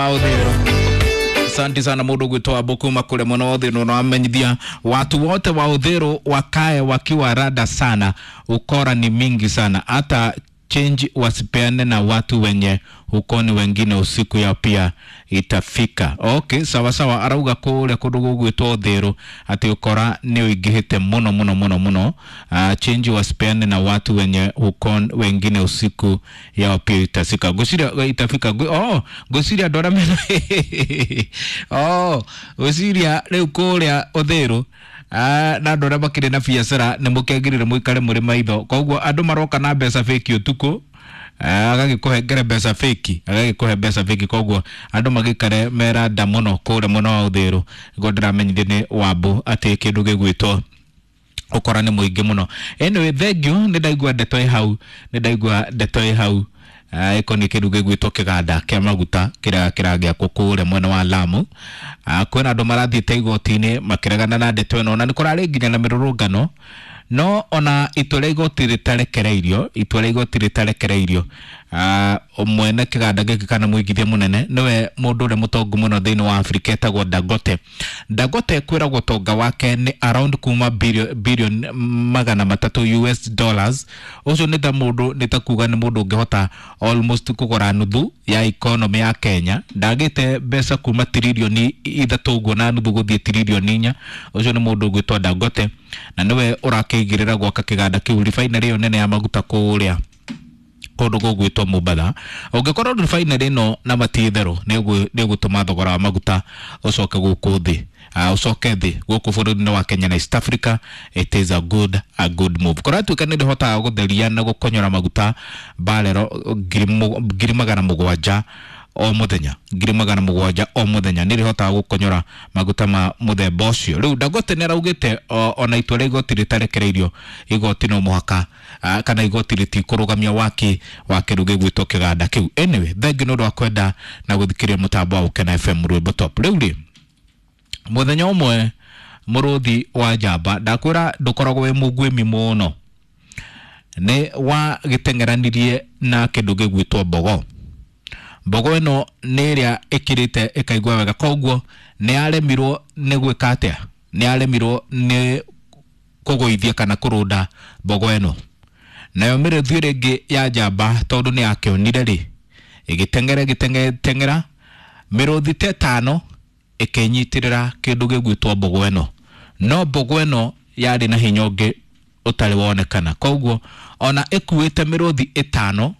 Uthiru. Asante sana mundu gwitwo Abukuma kule muno Uthiru, na wamenyithia watu wote wa Uthiru wakae wakiwa rada sana, ukora ni mingi sana, hata change wasipeane na watu wenye hukoni wengine, usiku yao pia itafika. Okay, sawa sawa, arauga kuria kundu gugwitwo Uthiru ati ukora ni uingihite muno muno muno muno. Change wasipeane na watu wenye hukon wengine, usiku yao pia itafika. Ngwiciria itafika. Oh, ngwiciria andu aria mena oh, ngwiciria riu kuria Uthiru na andå arä a makĩrĩ na biacara nĩ mũkĩagĩrĩire mũikare mũrĩ maitho. Koguo andũ maroka na mbeca fake ũtukũ, agagĩkũhengere mbeca fake, agagĩkũhe mbeca fake. Koguo andũ magĩikare meranda mũno kũrĩa mwena wa Uthiru. Nĩguo ndĩramenyithio nĩ Wambu atĩ kĩndũ gĩgwĩtwo ũkora nĩ mũingĩ mũno. Anyway, thank you, nĩ ndaigua ndeto ĩ hau, nĩ ndaigua ndeto ĩ hau ĩkoniĩ kĩndũ gĩgwĩtwo kĩganda kĩa maguta kĩrĩa kĩragĩakwo kũrĩa mwena wa Lamu. Kwĩna andũ marathiĩte igoti-inĩ makĩregana na ndeto ĩno, na nĩ kũrarĩ nginya na mĩrũrũngano, no ona itua rĩa igoti rĩtarekereirio, itua rĩa igoti rĩtarekereirio, mwene kĩganda gĩkĩ kana mũigithia mũnene nĩwe mũndũ ũrĩa mũtongu mũno thĩinĩ wa Afrika etagwo Dangote. Dangote kwĩragwo ũtonga wake nĩ around kuma billion 300 US dollars. Ũcio nĩ ta mũndũ, nĩ ta kuga nĩ mũndũ ũngĩhota almost kũgũra nuthu ya economy ya Kenya. Ndagĩte mbeca kuma 3.5 trillion ũguo na nuthu gũthiĩ 4 trillion. Ũcio nĩ mũndũ ũgwĩtwo Dangote, na nĩwe ũrakĩigĩrĩra gwaka kĩganda kĩu, refinery ĩyo nene ya maguta kũrĩa kũndũ gũgwĩtwo Mombatha. Ũngĩkorwo refinery ĩno na mati itherũ nĩ ĩgũtũma thogora wa maguta ũcoke gũkũ thĩ, ũcoke thĩ gũkũ bũrũri-inĩ wa Kenya na East Africa. It is a good move. Kũratuĩka nĩ ndĩhotaga gũtheria na gũkonyora maguta barero 700,000 o muthenya, 700,000 o muthenya, nĩ rĩhotaga gũkonyora maguta ma mũthemba ũcio. Rĩu Dangote nĩ araugĩte ona itua rĩa igoti rĩtarekereirio, igoti no mũhaka kana igoti rĩtikũrũgamia waki wa kĩndũ gĩgwĩtwo kĩganda kĩu. Anyway, thengi nĩ ũndũ wa kwenda na gũthikĩrĩria mũtambo wa Gũkena FM Rwĩmbo Top. Rĩu rĩ, mũthenya ũmwe mũrũthi wa njamba, ndakwĩra ndũkoragwo wĩ mũguĩmi mũno, nĩ wagĩteng'eranirie na kĩndũ gĩgwĩtwo mbogo. Mbogo ĩno nĩ ĩrĩa ĩkĩrĩte ĩkaigua wega, koguo nĩ yaremirwo nĩ gwĩka atĩa, nĩ yaremirwo nĩ kũgũithia kana kũrũnda mbogo ĩno. Nayo mĩrũthi ĩrĩa ĩngĩ ya njamba, tondũ nĩ yakĩonire rĩ, ĩgĩteng'era, ĩgĩteng'era mĩrũthi ta ĩtano ĩkĩnyitĩrĩra kĩndũ gĩgwĩtwo mbogo ĩno, no mbogo ĩno yarĩ na hinya ũngĩ ũtarĩ wonekana. Koguo ona ĩkuĩte mĩrũthi ĩtano